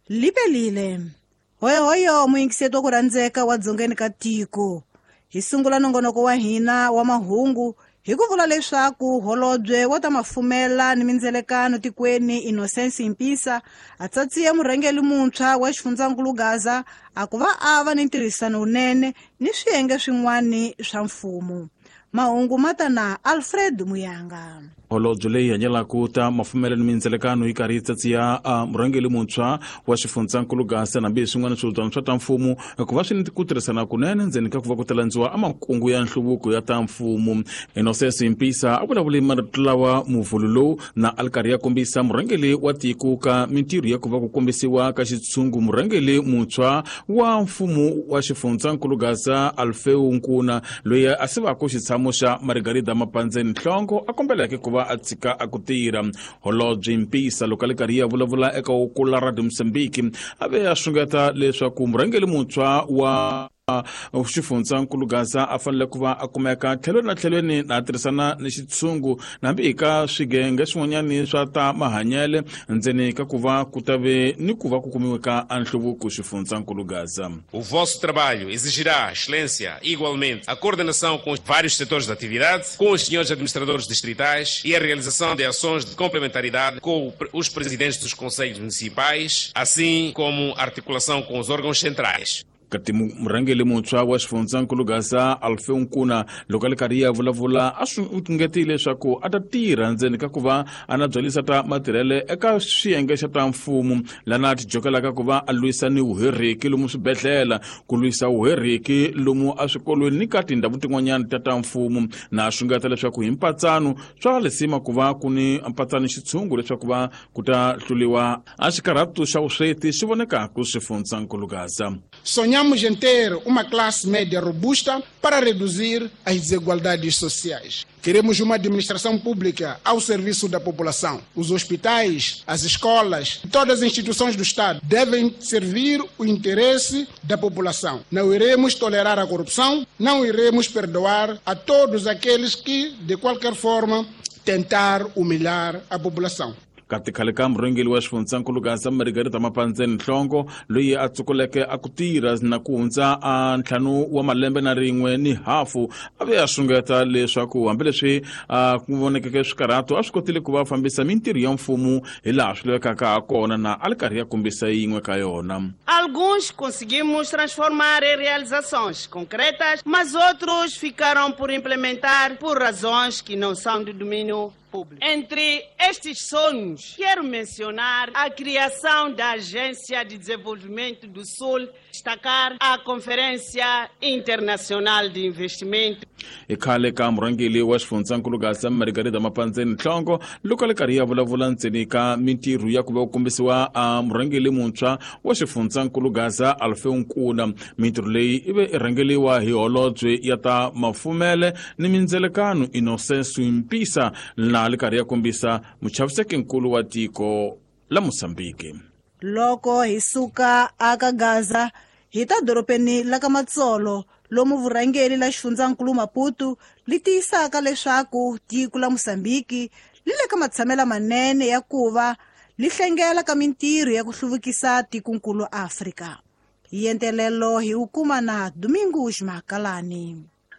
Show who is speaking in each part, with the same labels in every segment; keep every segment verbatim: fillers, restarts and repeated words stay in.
Speaker 1: Lipelile. Hoyohoyo muyingiseti wa ku rhandzeka wa dzongeni ka tiko. Hi sungula nongonoko wa hina wa mahungu hi ku vula leswaku holobye wa ta mafumela ni mindzelekano tikweni Innocence Mpisa a tsatsiye murhangeri muntshwa wa xifundzankulu Gaza a ku va a va ni ntirhisano wunene ni swiyenge swin'wana swa mfumo. Mahungu ma ta na Alfred Muyanga.
Speaker 2: Holobye leyi hanyelaka ta mafumelo ni mindzelekano yi karhi yi tsatsiya a murhangeri muntshwa wa xifundzankulu Gaza nambi swin'wana swihubyana swa ta mfumo ku va swi ni ku tirhisana kunene ndzeni ka ku va ku talandziwa a makungu ya nhluvuko ya ta mfumo. Innocence Mpisa a vulavule marito lawa muvhulu lowu na a ri karhi ya kombisa murhangeri wa tiko ka mintirho ya ku va ku kombisiwa ka xitshungu murhangeri muntshwa wa mfumo wa xifundzankulu Gaza Alfeu Nkuna loyi a sivaka xitshamo xa Margarida Mapandzeni Nhlongo a kombeleke ku va a tshika a ku tirha. Holobye Mpisa loko a le karhi ya vulavula eka Ukula Radio Mozambique a ve a xungeta leswaku murhangeri muntshwa wa xifundzankulu Gaza a fanele ku va a kumeka tlhelweni na tlhelweni na tirhisana ni xitshungu nambi eka swigenge swin'wanyani swa ta mahanyele ndzeni ka ku va ku ta ve ni ku va ku kumiwe ka nhluvuko xifundzankulu Gaza.
Speaker 3: O vosso trabalho exigirá excelência, igualmente, a coordenação com os vários setores de atividade, com os senhores administradores distritais e a realização de ações de complementaridade com os presidentes dos conselhos municipais, assim como a articulação com os órgãos centrais.
Speaker 2: Kati murhangeri muntshwa wa xifundzankulu Gaza Alfeu Nkuna loko a le karhi ya vulavula a swi ngetile leswaku a ta tirha ndzeni ka ku va a na byalisa ta matirhele eka swiyenge xa ta mfumo lana a ti jokelaka ku va a lwisa ni vuheriki lomu swibedhlele ku lwisa vuheriki lomu eswikolweni ni ka tindhawu tin'wanyana ta ta mfumo na a xungeta leswaku hi mpatsano swa lisima ku va ku ni mpatsano xitshungu leswaku va ku ta hluliwa a xikarhatu xa vusweti xi vonekaka xifundzankulu Gaza.
Speaker 4: Sonhamos em ter uma classe média robusta para reduzir as desigualdades sociais. Queremos uma administração pública ao serviço da população. Os hospitais, as escolas, todas as instituições do Estado devem servir o interesse da população. Não iremos tolerar a corrupção, não iremos perdoar a todos aqueles que, de qualquer forma, tentar humilhar a população.
Speaker 2: Kati khale ka murhangeri wa xifundzankulu Gaza Margarida Mapandzeni Nhlongo loyi a tsukuleke a ku tirha na ku hundza a ntlhanu wa malembe na rin'we ni hafu a ve a xungeta leswaku hambileswi a ku vonekeke swikarhato a swi kotile ku va fambisa mintirho ya mfumo hi laha swi lavekaka ha kona na a li karhi ya kombisa yin'we ka yona.
Speaker 5: Alguns conseguimos transformar em realizações concretas, mas outros ficaram por implementar por razões que não são do domínio público. Entre estes sonhos, quero mencionar a criação da Agência de Desenvolvimento do Sul, destacar a Conferência Internacional de Investimento.
Speaker 2: I khale ka murhangeri wa xifundzankulu Gaza Margarida Mapandzeni Nhlongo loko a le karhi ya vulavula ndzeni ka mintirho ya ku va ku kombisiwa a murhangeri muntshwa wa xifundzankulu Gaza Alfeu Nkuna. Mintirho leyi i ve i rhangeriwa hi holobye ya ta mafumele ni mindzelekano Innocence Mpisa na le karhi ya kombisa muchavisekinkulu wa tiko la Mozambique.
Speaker 1: Loko hi suka aka Gaza hi ta dorobeni la ka Matsolo lomu vurhangeri la xifundzankulu Maputo li tiyisaka leswaku tiko la Mozambique li le ka matshamela manene ya ku va li hlengela ka mintirho ya ku hluvukisa tikonkulu Afrika. Hi entelelo hi wu kuma na Domingos Makalani.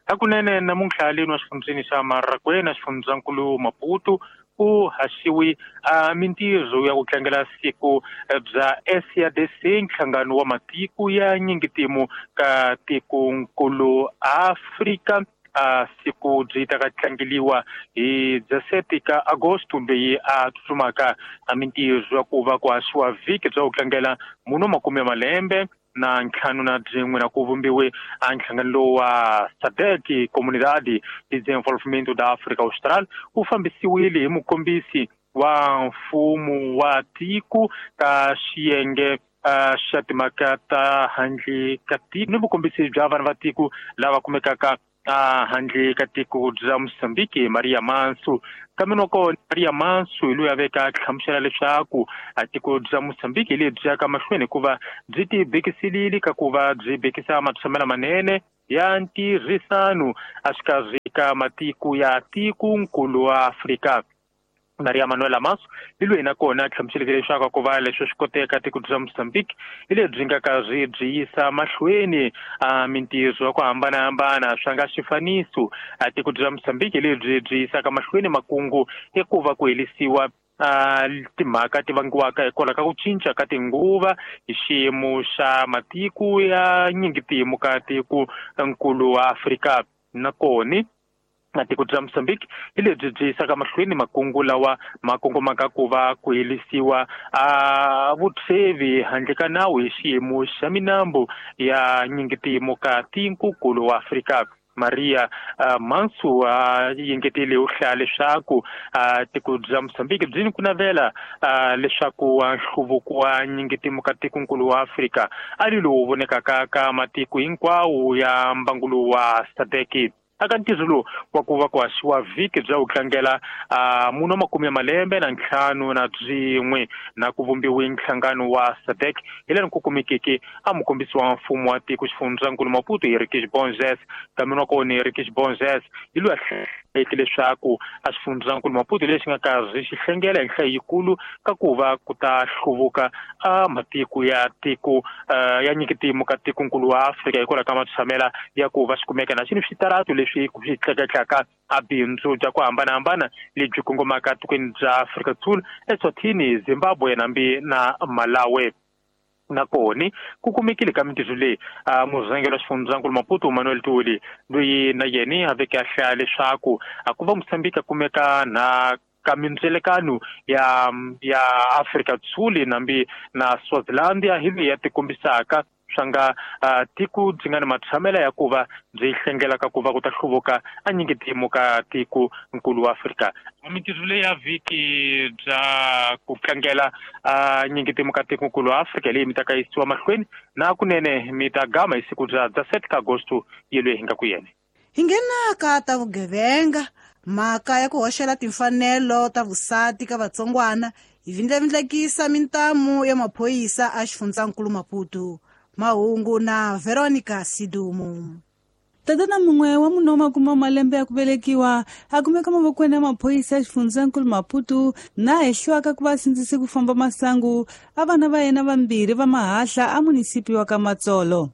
Speaker 6: Hakunene namuntlha leni wa xifundzeni xa Marakwena xifundzankulu Maputo ku haxiwi a mintirho ya ku tlangela siku bya S A D C nhlangano wa matiko ya nyingitimu ka tikonkulu Afrika. A siku byi ta ka tlangeliwa hi dezesete ka Agosto leyi a tsutsumaka a mintirho ya ku va ku haxiwa vhiki bya ku tlangela muno makume malembe na ntlhanu na byin'we na ku vumbiwe a nhlangano lowu wa SADC Comunidade de Desenvolvimento da África Austral wu fambisiwile hi mukombisi wa mfumo wa tiko ka xiyenge xa timhaka ta handle ka tiko ni vukombisi bya vanhu va tiko lava kumekaka handle ka tiko bya Mozambique Maria Manso. Kambe loko Maria Manso hi loyi a veka hlamusela leswaku a tiko bya Mozambique lebyi yaka mahlweni hikuva byi ti bekiselile ka ku va byi bekisa matshamelo manene ya ntirhisano exikarhi ka matiko ya tikonkulu wa Afrika. Maria Manuela Maso hi loyi nakona a hlamuseleke leswaku ku va leswi swi koteka tiko bya Mozambique hi lebyi nga karhi byi yisa mahlweni a mintirho ya ku hambanahambana swa nga xifaniso. A tiko bya Mozambique hi lebyi byi yisaka mahlweni makungu ya ku va ku helisiwa a timhaka ti vangiwaka hikwalaho ka ku cinca ka tinguva hi xiyimo xa matiko ya nyingitimu ka tiko nkulu wa Afrika. Nakona na tiko bya Mozambique hi lebyi byi yisaka mahlweni makungu lawa ma kongomaka ku va ku helisiwa a vutshwevi handle ka nawu hi xiyimo xa minambu ya nyingitimu ka tiko wa Afrika. Maria uh, Mansu a uh, yingetile u hlaya leswaku uh, tiko bya Mozambique byi ni ku navela uh, leswaku nhluvuko wa nyingitimu ka tikonkulu wa Afrika a ri lowu vonekaka ka matiko hinkwawo ya mbangu wa SADC. Aka ntirho lowu wa ku va ku haxiwa vhiki bya ku tlangela uh, munhu wa makume ya malembe na ntlhanu na byin'we na ku vumbiwe nhlangano wa SADC hi leri ku kumekeke a mukombisi wa mfumo wa tiko xifundzankulu Maputo Henriques Borges. Kambe wa kona Henriques Borges hi loyi a hlayeke leswaku a xifundzankulu Maputo lexi nga karhi xi hlengela hi nhlayo yikulu ka ku va ku ta hluvuka a matiko ya tiko uh, ya nyikitimu ka tikonkulu wa Afrika hikwalaho ka matshamela ya ku va xi kumeka na xini switaratu leswi swi tleketlaka a bindzu bya ku hambanahambana lebyi kongomaka tikweni bya Afrika Dzonga, Eswatini, Zimbabwe nambi na Malawi. Nakona ku kumekile ka mintirho leyi a murhangeri wa xifundzankulu Maputo Manuel Tuli loyi na yena a veke a hlaya leswaku a ku va Mozambique a kumeka na ka mindzelekano ya ya Afrika Dzonga nambi na Swaziland hi leyi ya tikombisaka swa nga uh, tiko byi nga ni matshamela ya ku va byi hlengelaka ku va ku ta hluvuka a nyingitimu ka tiko nkulu wa Afrika. Mintirho leyi ya vhiki bya ku tlangela uh, nyingitimu ka tiko nkulu wa Afrika leyi mi ta ka yisiwa mahlweni na kunene mi ta gama hi siku bya dezesete ka Agosto yelweyi hi nga ku yena.
Speaker 1: Hi nghena ka ta vugevenga, mhaka ya ku hoxela timfanelo ta vusati ka vatsongwana yi vindlavindlekisa mintamu ya maphorisa a xifundzankulu Maputo. Mahungu na Veronica Sidumo.
Speaker 7: Tatana mun'we wa munhu wa makume malembe ya ku velekiwa a kumeka mavokweni ya maphorisa ya xifundzankulu Maputo na hehliwaka ku va sindzise ku famba masangu a vana va yena vambirhi va mahahla a munisipi wa ka Matsolo.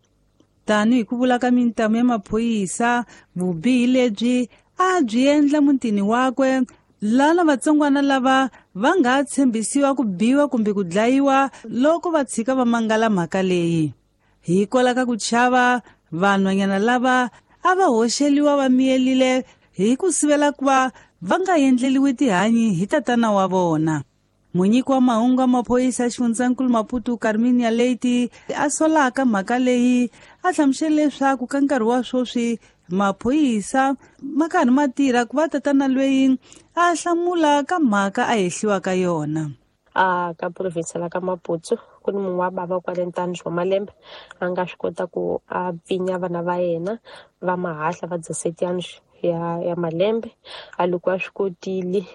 Speaker 7: Tanihi ku vula ka mintamu ya maphorisa, vubihi lebyi a byi endla mutini wakwe lana vatsongwana lava va nga tshembisiwa ku biwa kumbe ku dlayiwa loko va tshika va mangala mhaka leyi. Hikwalaho ka ku chava, vanhwanyana lava a va hoxeliwa va miyelile hi ku sivela ku va va nga endleliwi tihanyi hi tatana wa vona. Munyiki wa mahungu ya maphorisa ya xifundzankulu Maputo Carminia Leite a solaka mhaka leyi a hlamusele leswaku ka nkarhi wa sweswi maphorisa ma karhi ma tirha ku va tatana loyi a hlamula ka mhaka a hehliwaka yona.
Speaker 8: A ka province la ka Maputo ku ni munhu wa bava kwale ntanu wa malembe a nga swi kota ku a pfinya vana va yena va mahahla va dezesete ya ya malembe. A loko a swi kotile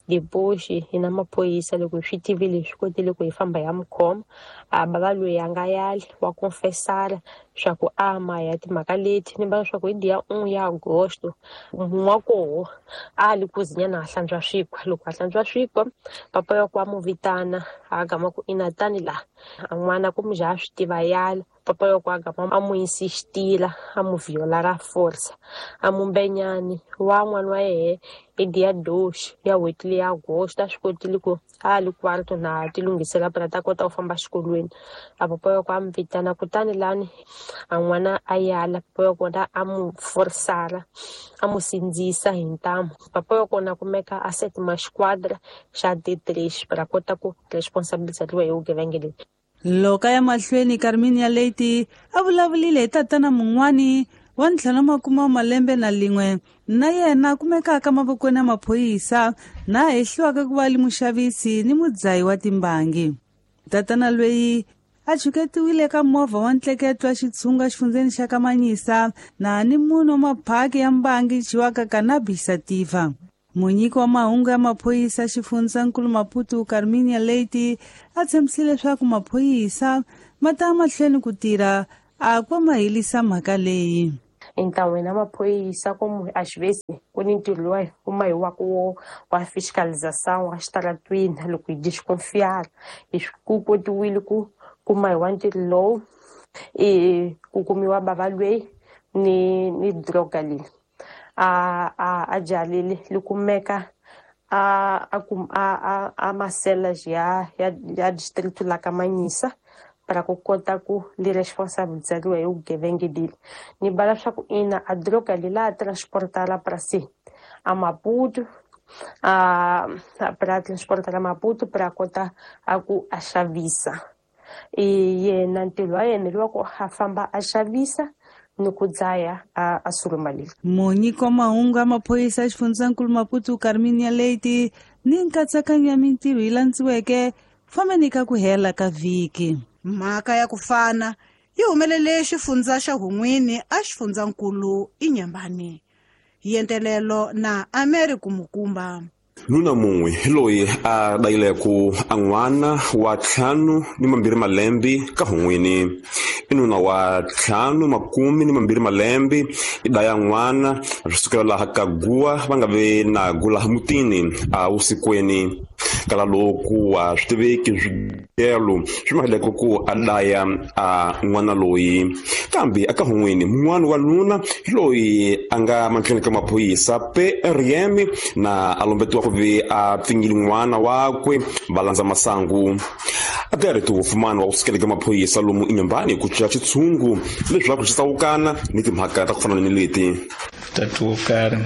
Speaker 8: dipoxi hi na maphorisa loko hi swi tivile hi swi kotile ku hi famba ya mukhoma. A bava loyi a nga yali wa confessala swa ku a ma ya timhaka leti ni vona swa ku hi dia un'we ya Agosto munhu wa koho a li ku zinyana a hlantswa swikwa. Loko a hlantswa swikwa papa ya ku a mu vitana a gama ku ina tani la a n'wana ku mujha a swi tiva yala papa ya ku a gama a mu insistila a mu viola ra force a mu mbenyani wa n'wana wa yehe hi dia doxi ya n'hweti leyi ya Agosto a swi kotile ku a li kwarto na ti lunghisela phela ta kota ku famba xikolweni. A papa ya ku a mu vitana kutani lani a n'wana a yala papa ya kona a mu forsala a mu sindzisa hi ntamu. Papa ya kona kumeka a setima xiquadra xa D three ra kota ku responsabilizeriwa hi vugevenga lebyi.
Speaker 7: Loko ya mahlweni Carminia Leite a vulavulile hi tatana mun'wani wa ntlhanu makume wa malembe na lin'we na yena kumekaka mavokweni ya maphorisa na hehliwaka ku va li muxavisi ni mudzayi wa timbangi. Tatana loyi a chuketiwile ka movha wa ntleketo wa xitshunga xifundzeni xa Kamanyisa na ni munhu wa maphaki ya mbangi dyiwaka cannabis sativa. Munyiki wa mahungu ya maphorisa xifundzankulu Maputo Carminia Leite a tshembisile leswaku maphorisa ma ta mahlweni ku tirha a ku ma helisa mhaka leyi.
Speaker 8: Então hina maphorisa como às vezes ku ni ntirho lowu kuma hi wa ku wa fiscalização a xitaratwini loko hi desconfiar hi ku kotiwile ku kuma hi wa ntirho lowu i ku kumiwa bava lweyi ni ni droga leyi a a a jalile li kumeka a a a a masela ya ya ya distrito la ka Manhissa para ku kota ku li responsabilizariwa hi vugevenga leli ni bala swa ku ina a droga leyi la transportala para si a Maputo a para transportar a Maputo para kota a ku a xavisa i yena ntirho wa yena lowa ku a famba a xavisa ni ku dzaya a a suruma leyi.
Speaker 7: Munyiki wa mahungu ya maphorisa ya xifundzankulu Maputo Carminia Leite ni nkatsakanyo ya mintirho yi landziweke fambeni ka ku hela ka vhiki.
Speaker 1: Mhaka ya ku fana yi humelele xifundza xa Hun'wini a xifundzankulu Inhambane. Yentelelo na Americo Mukumba.
Speaker 9: Nuna mun'we hi loyi a dayileko a n'wana wa ntlhanu ni mambirhi malembe ka Hun'wini. I nuna wa ntlhanu makume ni mambirhi malembe i daya n'wana swi sukela laha ka guwa va nga ve na gu laha mutini a vusikweni. Kala loku a swi tiveki swigelo swi maheleko ku a daya a n'wana loyi. Kambe aka Hun'wini mun'wana wa nuna hi loyi a nga mahlweni ka maphorisa P R M na a lombetiwa ku ve a pfinyile n'wana wakwe va landza masangu. A ti wofumani wa ku sukela ka maphorisa lomu Inhambane ku cinca xitshungu leswaku xi tsawukana ni timhaka ta ku fana ni leti.
Speaker 10: Tatu wo karhi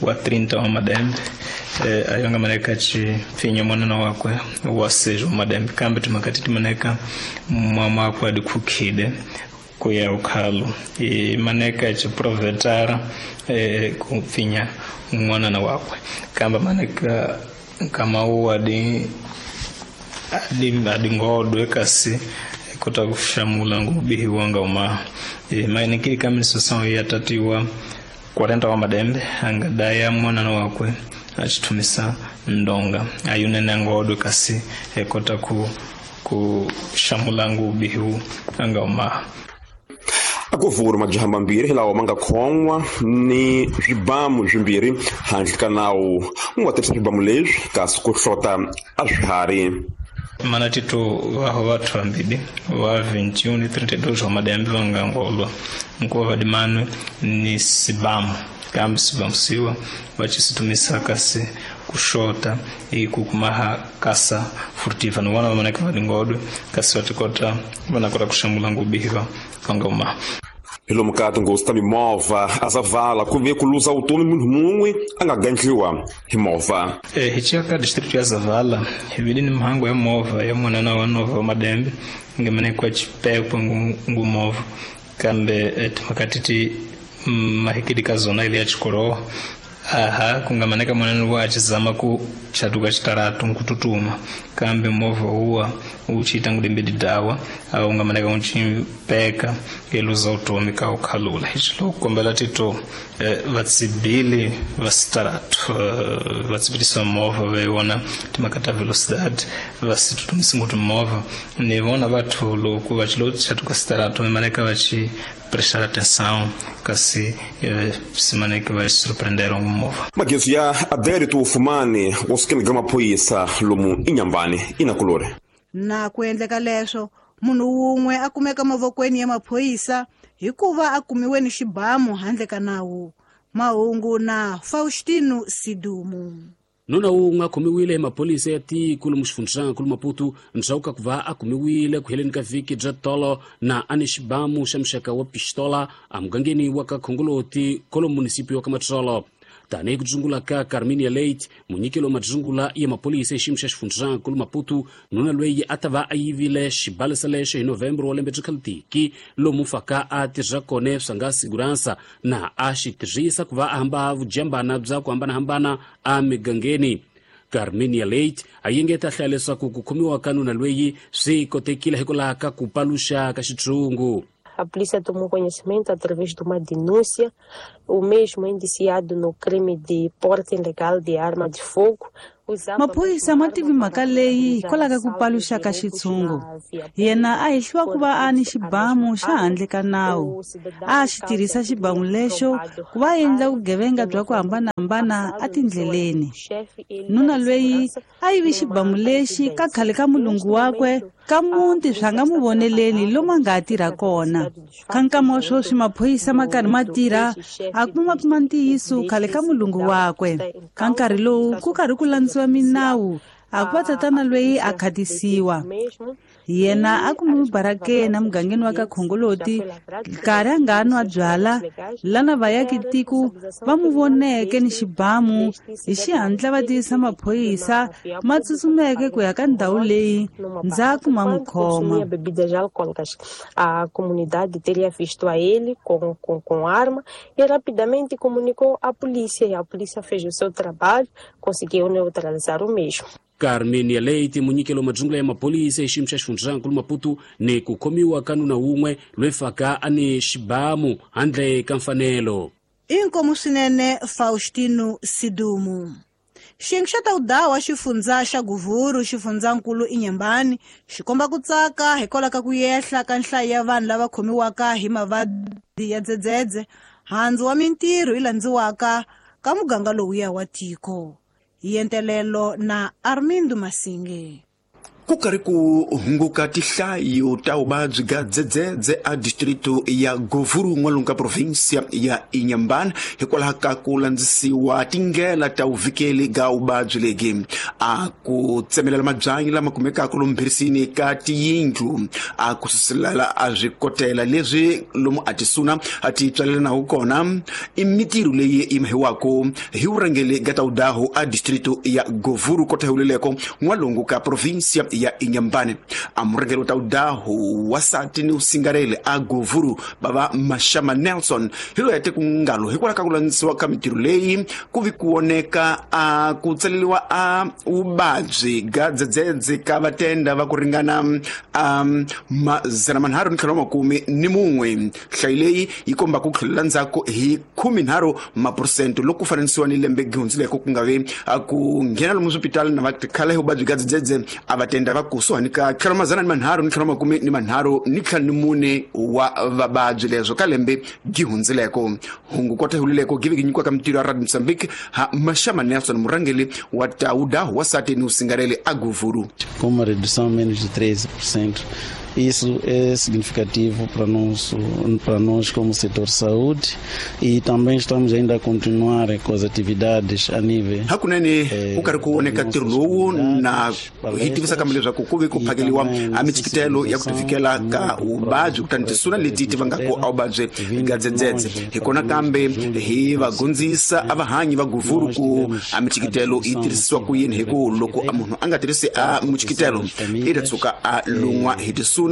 Speaker 10: wa trinta wa madembe eh, ayo nga maneka ci pfinya mwanana wakwe wa seis wa madembe kambe timhaka ti maneka mama wakwe a dikhukhile ku ya ukhalo i maneka ci provetara eh, ku pfinya n'wanana wakwe kambe maneka nkama wu adi adi adingodwe kasi kota ku xamula ngubihiwa nga uma e, mainikili kaminisosão ya tatiwa quarenta wa madembe angadaya mwanana wakwe achitumisa ndonga ayunene ngodwe kasi ekota ku ku xamula ngubihiwa anga uma.
Speaker 9: Akuvuri majaha mambirhi lawa ma nga khon'wa ni swibamu swimbirhi handle ka nawu mu nga tirhisa swibamu leswi kasi ku hlota a swiharhi.
Speaker 10: Mana tito vaho vathu vambili wa vinte e um ni trinta e dois wa madembe va nga ngolwa nkuva vadimanwe ni sibamu kambe sibamu siwa va xisitumisa kasi kuxota i ku kumaha kasa furtiva ni vona va maneka va dingodwe kasi va tikota va na kota ku xamula ngubihiwa va nga uma.
Speaker 9: Hi lomu ka tinghozi ta mimovha a Zavala ku ve ku luza vutomi munhu mun'we a nga gandliwa hi movha.
Speaker 10: Eh, hi ciya ka district ya Zavala hi vile ni mhangu ya movha ya munana wa nova wa madembe nga manekwa chipekwa ngu movha kambe timhaka ti mahikidi ka zona ile ya chikoroho aha kungamaneka mwanani wa achizama ku chatuka chitaratu nkututuma kambe movha uwa uchiita ngudembedi dawa au ungamaneka uchipeka eluza utomi ka ukhalula hichilo kukombela tito eh, vatsibili va sitaratu eh, vatsibilisa movha veiwona timhaka ta velocidade vasitutumisi nguti movha ni vona vathu loko vachilo chatuka sitaratu vimaneka vachi prestar atenção kasi eh, simaneke va surpreenderam movha.
Speaker 9: Magezu ya Adérito Ufumani wo sukela ka maphorisa lomu Inhambane inakulore.
Speaker 1: Na ku endleka leswo munhu wun'we a kumeka mavokweni ya maphorisa hikuva a kumiwe ni xibamu handle ka nawu. Mahungu na Faustino Sidumu.
Speaker 11: Nuna wun'we a khomiwile hi maphorisa ya tiko lomu xifundzankulu Maputo ndzhaku ka ku va a kumiwile ku heleni ka vhiki bya tolo na a ni xibamu xa muxaka wa pistola emugangeni wa ka Khongoloti kolo munisipio wa ka Matsolo. Tanihi ku dzungula ka Carminia Leite munyikelo wa madzungula ya maphorisa xiyimo xa xifundzankulu Maputo nuna loyi a ta va a yivile xibalesa lexo hi November wa lembe bya khalitiki lomu faka a tirha kona swa nga siguransa na a xi tirhisa ku va a hamba vujambana bya ku hambanahambana emigangeni. Carminia Leite a yengeta hlaya leswaku ku khomiwa ka nuna loyi swi kotekile hikwalaho ka ku paluxa ka xitshungu.
Speaker 8: A polícia tomou conhecimento através de uma denúncia, o mesmo indiciado no crime de porte ilegal de arma de fogo,
Speaker 7: Maphorisa ma tivi mhaka leyi hikwalaho ka ku paluxa ka xitshungu. Yena a hehliwa ku va a ni xibamu xa handle ka nawu. A xi tirhisa xibamu lexo ku va endla vugevenga bya ku hambanahambana etindleleni. Nuna loyi a yivi xibamu lexi ka khale ka mulungu wakwe ka muti swa nga mu voneleni lomu a nga ha tirha kona. Ka nkama wa sweswi maphorisa ma karhi ma tirha a kuma kuma ntiyiso khale ka mulungu wakwe. Ka nkarhi lowu ku karhi ku landziwa minawu a ku va tatana loyi a khatisiwa. Yena a kumiwe barakeni emugangeni wa ka Khongoloti nkarhi a nga nwa byala lana vayaki-tiko va mu voneke ni xibamu hi xihatla va tivisa maphorisa ma tsutsumeke ku ya ka ndhawu leyi ndzhaku ma n'wi khoma.
Speaker 8: A comunidade teria visto a ele com, com, com arma e rapidamente comunicou à polícia, e a polícia fez o seu trabalho, conseguiu neutralizar o mesmo.
Speaker 11: Carmenia Leite munyikelo majungula ya mapolisa exiyimo xa xifundzankulu Maputo ni ku khomiwa ka nuna wun'we loyi faka a ni xibamu handle ka mfanelo.
Speaker 1: Inkomu swinene Faustino Sidumu. Xiyenge xa tawudawa xifundza xa Guvuru xifundzankulu Inhambane xi komba ku tsaka hikwalaho ka ku yehla ka nhlayo ya vanhu lava khomiwaka hi mavabyi ya dzedzedze handzu wa mintirho yi landziwaka ka muganga lowuya wa tiko. Yentelelo na Armindo Masinge.
Speaker 12: Ku karhi ku hunguka tihlayo ta vuvabyi bya dzedzedze a distrito ya Govuru n'walungu ka provinsia ya Inhambane hikwalaho ka ku landzisiwa tindlela ta vuvikeli ga vuvabyi lebyi. A ku tsemelela mabyanyi lama kumekaka lomu mbhirisini ka tiyindlu, a ku suselela a swikotela leswi lomu a tisuna a ti tswalelanaku kona i mitirho leyi yi mahiwaka hi vurhangeri ga tawudahu a distrito ya Govuru kota huleleko n'walungu ka provinsia ya Inhambane. A murhangeri wa tawudahu wasati ni usingarele a Govuru bava Mashama Nelson hi loyi a te ku ngalo hikwalaho ka ku landzisiwa ka mitirho leyi ku vi ku voneka a ku tsaleriwa a vuvabyi ga dzedzedze ka vatenda va ku ringana a madzana manharhu ni ntlhanu wa makume ni mun'we. Nhlayo leyi yi komba ku tlhelela ndzhaku hi khumenharhu maphurosente loko ku fananisiwa ni lembe gihundzileko ku nga vi ku nghena lomu swipitali na va tikhala hi vuvabyi ga dzedzedze a vatenda va kusuhani ka tlhelo madzana ni manharhu ni ntlhanu wa makume ni manharhu ni ntlhanu ni mune wa vavabyi leswo ka lembe gihundzileko. Hungu kota hulileko give gi nyikiwa ka mitirho ya Radio Mozambique ha Mashama Nelson murhangeri wa tawudahu wasati ni usingarele a Govuru.
Speaker 13: Com uma redução menos de treze por cento. Isso é significativo para nós, para nós como setor saúde, e também estamos ainda a continuar com as atividades a nível.
Speaker 12: Hakunene ku karhi ku voneka ntirho lowu na hi tivisa kambe leswaku ku ve ku phakeliwa a michikitelo ya ku tivikela ka vuvabyi kutani tisuna leti ti vangaka a vuvabyi ga dzedzedze. Hi kona kambe hi va gondzisa a vahanyi va Govuru ku a michikitelo yi tirhisiwa ku yini, hi ku loko a munhu a nga tirhisi a michikitelo i ta tshuka a lun'wa hi tisuna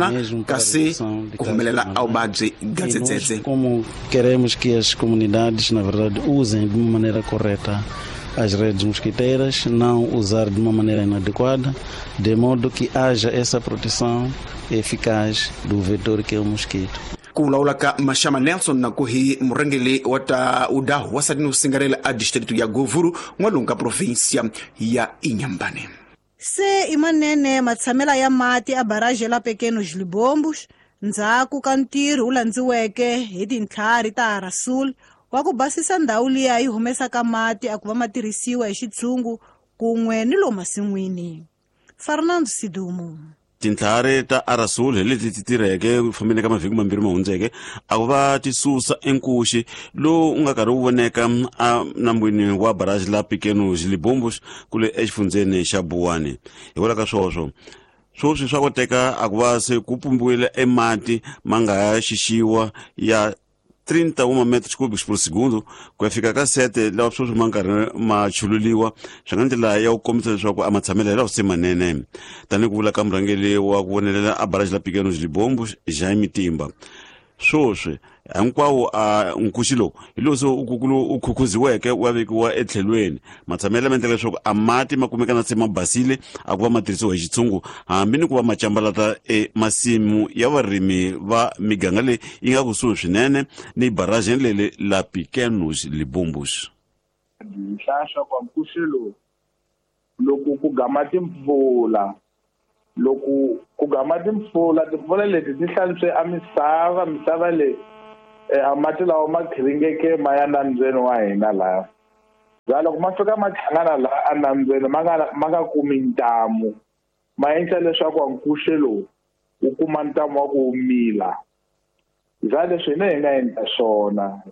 Speaker 12: kasi ku humelela a vuvabyi ga dzedzedze.
Speaker 13: Como queremos que as comunidades, na verdade, usem de uma maneira correta as redes mosquiteiras, não usar de uma maneira inadequada, de modo que haja essa proteção eficaz do vetor que é o mosquito.
Speaker 12: Ku vulavula ka Mashama Nelson na ku hi murhangeri wa tawudahu wasati ni usingarela a distrito ya Govuru n'walungu ka provinsia ya Inhambane.
Speaker 1: Se imanene matshamela ya mati a barragem la Pequenos Libombos ndzhaku ka ntirho wu landziweke hi tintlhari ta Rasul wa ku basisa ndhawu liya yi humesaka mati a ku va ma tirhisiwa hi xitshungu kun'we ni lomu masin'wini. Fernando Sidumo.
Speaker 14: Tintlhari ta Arasul hi leti ti tirheke ku fambeni ka mavhiki mambirhi ma hundzeke a ku va ti susa enkuxi lowu u nga karhi wu voneka a nambwini wa barrage la Pequenos Libombos kule exifundzeni xa Buwani. Hikwalaho ka swoswo swoswi swa koteka a ku va se ku pumbiwile emati ma nga ya xixiwa ya trinta e um metros cúbicos por segundo ku ya fika ka sete lawa sweswi ma nkarhi ma chululiwa swi nga ndlela ya ku kombisa leswaku a matshamelo lawa se manene. Tanihi ku vula ka murhangeri wa ku vonelela a barrage la Pequenos Libombos Jaime Timba, swoswi hinkwawo a nkuxi lowu hi lowu se u khukhuziweke wa vekiwa etlhelweni. Matshamelo ma endla leswaku a mati ma kumeka na se ma basile a ku va ma tirhisiwa hi xitshungu hambi ni ku va ma cambalata emasimu ya varimi va miganga leyi yi nga kusuhi swinene ni barrage leli la Pequenos Libombos.
Speaker 15: Nhlahla kwa nkuxi lowu Loko ku gama timpfula loko ku gama timpfula timpfula leti ti hlantswe a misava misava leyi a mati lawa ma khiringeke ma ya nambyeni wa hina laha bya loko ma fika ma hlangana laha enambyeni ma nga ma nga kumi ntamu ma endla leswaku nkuxe lowu wu kuma ntamu wa ku mila bya leswi hina hi nga endla swona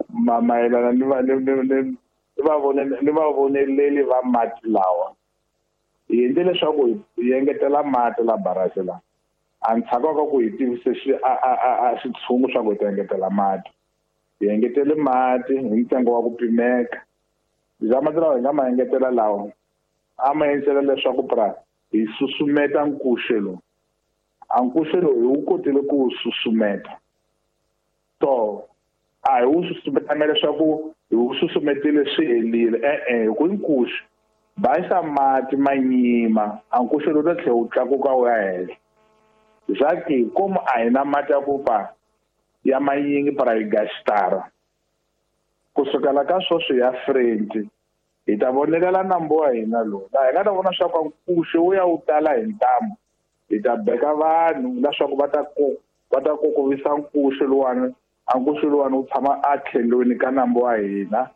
Speaker 15: ma mayelana ni va ni ni ni vavoneleli va mati lawa hi endle leswaku hi engetela mati la barasi la a ndzhaku ka ku hi tivise xi a a a xitshungu swa ku hi ta engetela mati hi engetele mati hi ntsengo wa ku pimeka bya mati lawa hi nga ma engetela lawa a ma endlela leswaku pra hi susumeta nkuxe lowu a nkuxe lowu hi wu kotile ku wu susumeta to a hi wu susumetanga leswaku hi wu susumetile swi helile e-e hi ku nkuxe bayisa mati ma nyima a nkuxe lowu ta tlhela wu tlakuka wu ya henhla zaki komu a hi na mati ya ku pa ya manyingi para hi gastara kusukela ka sweswi ya frenti hi ta vonelela nambu wa hina lowu laha hi nga ta vona swa ku nkuxe wu ya wu tala hi ntamu hi ta beka vanhu leswaku va ta va ta kokovisa nkuxe luwani a nkuxe luwani wu tshama a tlhelweni ka nambu wa hina.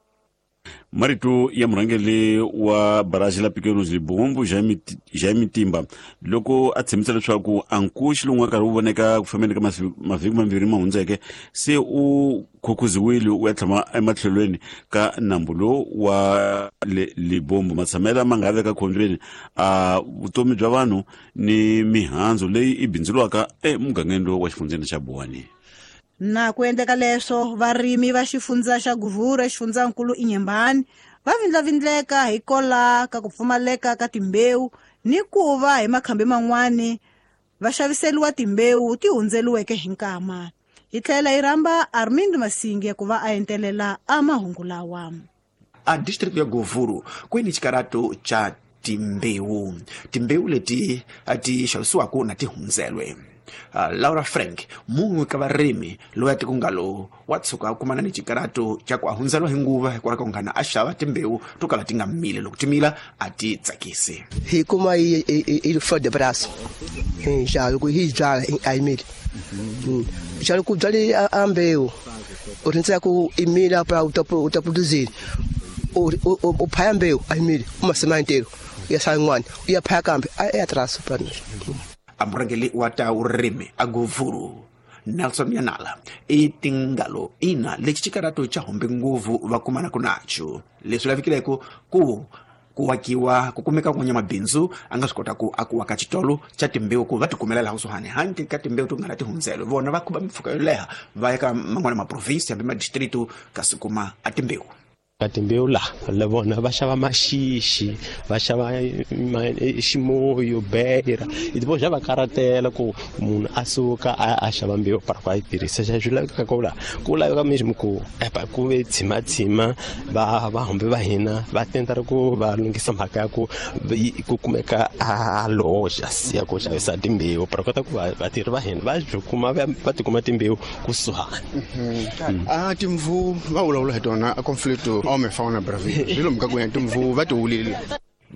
Speaker 14: Marito ya murhangeri wa baraji la Pequenos Libombo Jaime Timba loko a tshembisa leswaku a nkuxi lowu nga karhi wu voneka ku fambeni ka mavhiki mambirhi ma hundzeke se u khukhuziwile u ya tshama ematlhelweni ka nambu lowu wa le Libombo matshamela ma nga veka khombyeni a vutomi bya vanhu ni mihandzu leyi i bindzuriwaka emugangeni lowu wa xifundzeni xa Buwani.
Speaker 1: Na ku endleka leswo varimi va xifundza xa Guvura xifundzankulu Inhambane va vindlavindleka hi kola ka ku pfumaleka ka timbewu ni ku va hi makhambi man'wani va xaviseliwa timbewu ti hundzeliweke hi nkama. Hi tlhela hi rhamba Armindo Masinge ku va a entelela a mahungu lawa.
Speaker 12: A district ya Govuru kweni xikarato cha timbewu timbewu leti ti xavisiwaka na ti hundzelwe. Uh, Laura Frank mun'we ka varimi loyi a tikungalo wa tshuka a kumana ni xikarato xa ku a hundzeriwa hi nguva hikwalaho ka ku nghana a xava timbewu to kala ti nga mili loko ti mila a ti tsakisi.
Speaker 16: Hi kuma yi yi flor de braço xa loko hi byala a yi mili xa loko byale a mbewu u rindzela ku i mila para u ta u ta produzir u u phaya mbewu a yi mili uma semana inteiro ya sala yin'wana u ya phaya kambe a ya traço para nós.
Speaker 12: A murhangeri wa ta vurimi a Govuru Nelson Yanala i tingalo ina lexi xikarato xa hombe nguvu va kumanaka nacho leswi lavikileko ku ku wakiwa ku kumeka kun'wanya mabindzu a nga swi kota ku a ku waka xitolo xa timbewu ku va tikumela laha kusuhani handle ka timbewu to nga na tihundzelo vona va khuba mimpfhuka yo leha va ya ka man'wana maprovinsi hambi madistritu kasi kuma a timbewu.
Speaker 17: Ka timbewu laha la vona va xava maxixi va xava ximoyo bera depois já va karatela ku munhu a suka a a xava mbewu para ku a yi tirhisa xa swi lavekaka ku laha ku laveka mesmo ku epa ku ve tshimatshima va va hambi va hina va tenta ri ku va lunghisa mhaka ya ku ku kumeka a loja ya ku xavisa timbewu para kota ku vatirhi va hina va byi kuma va tikuma timbewu kusuhani.
Speaker 4: A timvu va vulavula hi tona a conflicto homem fauna Brazil swilo mka ku ya timvu va tiwulile.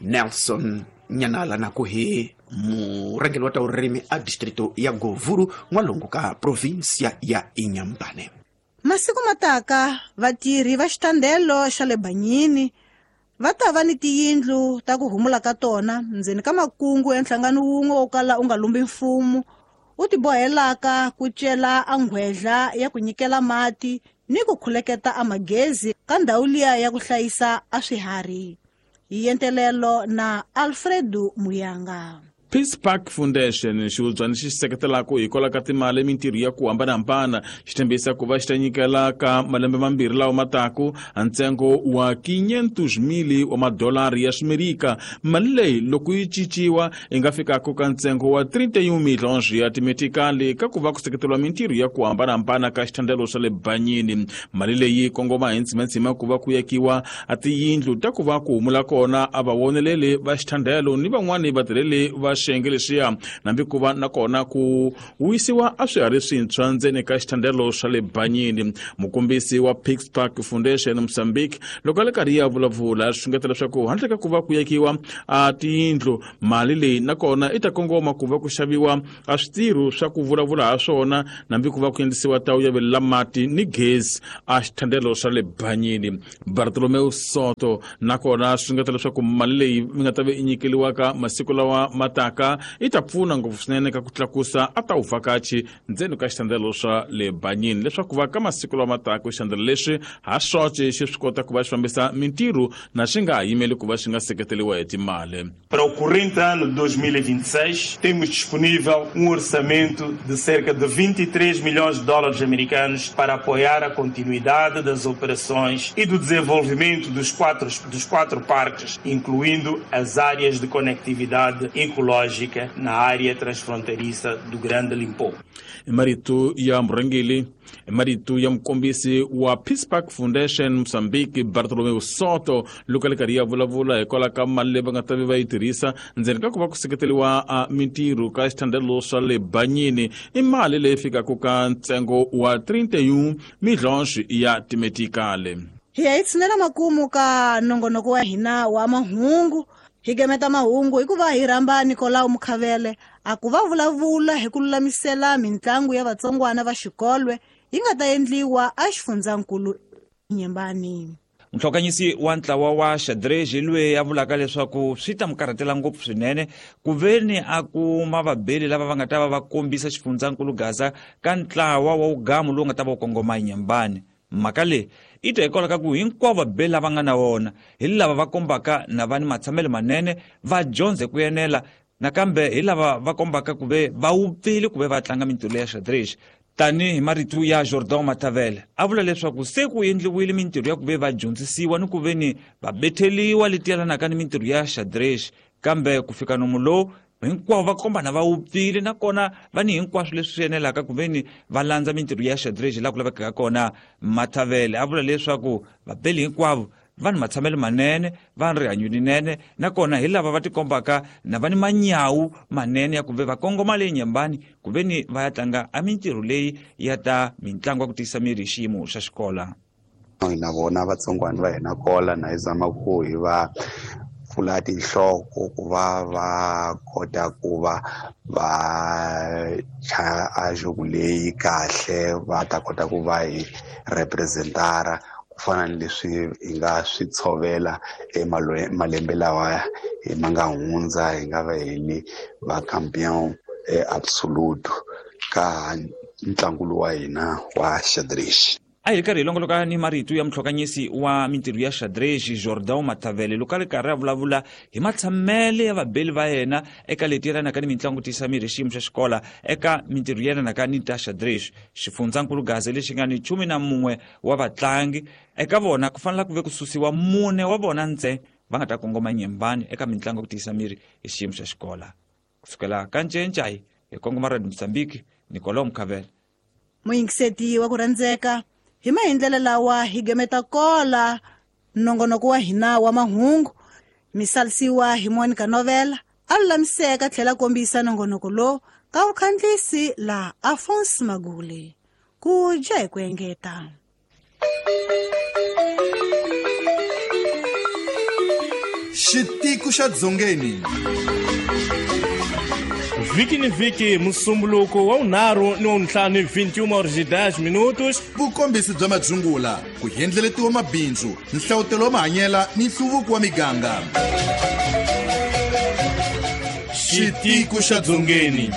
Speaker 12: Nelson Nyanala na ku hi murhangeri wa ta vurimi a distrito ya Govuru n'walungu ka provinsia ya Inhambane.
Speaker 1: Masiku mataka vatirhi va xitandelo xa le Banyini va ta va ni tiyindlu ta ku humula ka tona ndzeni ka makungu ya nhlangano wun'we wo kala u nga lumbi mfumo u tibohelaka ku cela a nghwedla ya ku nyikela mati ni ku khuleketa a magezi ka ndhawu liya ya ku hlayisa a swiharhi. Hi entelelo na Alfredo Muyanga.
Speaker 2: Peace Park Foundation xihubyana xi seketelaka hi kwala ka timali mintirho ya ku hambanahambana xi tshembisa ku va xi ta nyikela ka malembe mambirhi lawa mataku ntsengo wa quinhentos mil wa madolari ya Ximerika. Mali leyi loko yi cinciwa yi nga fikaka ka ntsengo wa trinta e um milhões ya timetikali ka ku va ku seketeriwa mintirho ya ku hambanahambana ka xithandelo xa le Banyini. Mali leyi kongoma hi ntsimantsima ku va ku yakiwa a tiyindlu ta ku va ku humula kona a vawoneleli va xithandelo ni van'wani vatirheli va xiyenge lexiya nambi ku va nakona ku wisiwa a swiharhi swintshwa ndzeni ka xithandelo swa le Banyini. Mukombisi wa Peace Park Foundation Mozambique loko a le karhi ya vulavula swi xungeta leswaku handle ka ku va ku yekiwa a tiyindlu mali leyi nakona i ta kongoma ku va ku xaviwa a switirho swa ku vulavula ha swona nambi ku va ku endlisiwa tawu ya velela mati ni gezi a xithandelo swa le Banyini. Bartolomeu Soto nakona swi xungeta leswaku mali leyi mi nga ta ve i nyikeliwaka masiku lawa mataka i ta pfuna ngopfu swinene ka ku tlakusa a ta vuvhakachi ndzeni ka xithandelo swa le Banyini leswaku va ka masiku lawa mataka xithandelo leswi ha swoxe xi swi kota ku va xi fambisa mintirho na xi nga ha yimeli ku va xi nga seketeriwa hi timali.
Speaker 18: Para o corrente ano de dois mil e vinte e seis, temos disponível um orçamento de cerca de vinte e três milhões de dólares americanos para apoiar a continuidade das operações e do desenvolvimento dos quatro, dos quatro parques, incluindo as áreas de conectividade ecológica na área transfronteiriça do Grande Limpopo.
Speaker 2: Marito ya murhangeri marito ya mukombisi wa Peace Park Foundation Mozambique Bartolomeu Soto loko a le karhi ya vulavula hikwalaho ka mali leyi va nga ta ve va yi tirhisa ndzeni ka ku va ku seketeriwa a mintirho ka xithandelo swa le Banyini i mali leyi fikaka ka ntsengo wa trinta e um milhões ya timetikale.
Speaker 1: Hi ya hi tshinela makumu ka nongonoko wa hina wa mahungu. Hi gemeta mahungu hikuva hi rhamba Nicolau Mukhavele a ku va vulavula hi ku lulamisela mintlangu ya vatsongwana va xikolwe yi nga ta endliwa a xifundzankulu Nyembani.
Speaker 19: Muhlokanyisi wa ntlawa wa xadrez loyi a vulaka leswaku swi ta mu karhatela ngopfu swinene ku veni a kuma vabeli lava va nga ta va va kombisa xifundzankulu Gaza ka ntlawa wa wugamu lowu nga ta va wu kongoma Nyembani. Mhaka leyi i ta hikwalaho ka ku hinkwavo vabeli lava nga na wona hi lava va kombaka na va ni matshamelo manene va dyondze ku enela nakambe hi lava va kombaka ku ve va wupfile ku ve va tlanga mintirho ya xadrez. Tanihi marito ya Jordan Matavele a vula leswaku se ku endliwile mintirho ya ku ve va dyondzisiwa ni ku ve ni va betheliwa leti yelanaka ni mintirho ya xadrez, kambe ku fika nomu lowu hinkwavo va kombana va wupfile nakona va ni hinkwaswo leswi swi enelaka ku ve ni va landza mintirho ya xadrez laha ku lavekaka kona. Matavele a vula leswaku vabeli hinkwavo va ni matshamelo manene, va ni rihanyo rinene nakona hi lava va tikombaka na va ni manyawu manene ya ku ve va kongoma leyi Nyembani ku ve ni va ya tlanga a mintirho leyi ya ta mitlangu ya ku tiyisa miri hi xiyimo xa xikola.
Speaker 20: Na vona vatsongwana va hina kola na hi zama ku hi va pfula tinhloko ku va va kota ku va va chaya a jogo leyi kahle va ta kota ku va hi representara ku fana ni leswi hi nga swi tshovela emalembe lawa hi ma nga hundza hi nga va hi ni va campeon absolute ka ntlangu lowu wa hina wa xadrez.
Speaker 19: A hi ri karhi hi longoloka ni marito ya muhlokanyisi wa mintirho ya xadrez Jordan Matavele loko a ri karhi a vulavula hi matshamele ya vabeli va yena eka leti yelanaka ni mitlangu tiyisa miri hi xiyimo xa xikola eka mintirho yelanaka ni ta xadrez. Xifundzankulu Gaza lexi nga ni khume na mun'we wa vatlangi eka vona ku fanele ku ve ku susiwa mune wa vona ntsena va nga ta kongoma Nyembani eka mitlangu ku tiyisa miri hi xiyimo xa xikola. Kusukela ka Ncencai hi kongoma Radio Mozambique, Nicolau Mukhavele.
Speaker 1: Muyingiseti wa ku rhandzeka hi mahindlela lawa hi gemeta kola nongonoko wa hina wa mahungu misalisiwa hi Monica Novela a lulamiseka tlhela kombisa nongonoko lowu ka vukhandlisi la Alphonse Magule ku dya hi ku engeta.
Speaker 21: Xitiko xa Dzongeni
Speaker 22: Vhiki ni vhiki musumbuluko wa vunharhu ni wa vuntlhanu vinte e uma horas e dez minutos.
Speaker 21: Vukombisi bya madzungula ku endleletiwa mabindzu nhlawutelo wa mahanyela ni nhluvuko wa miganga.
Speaker 22: Xitiko xa Dzongeni.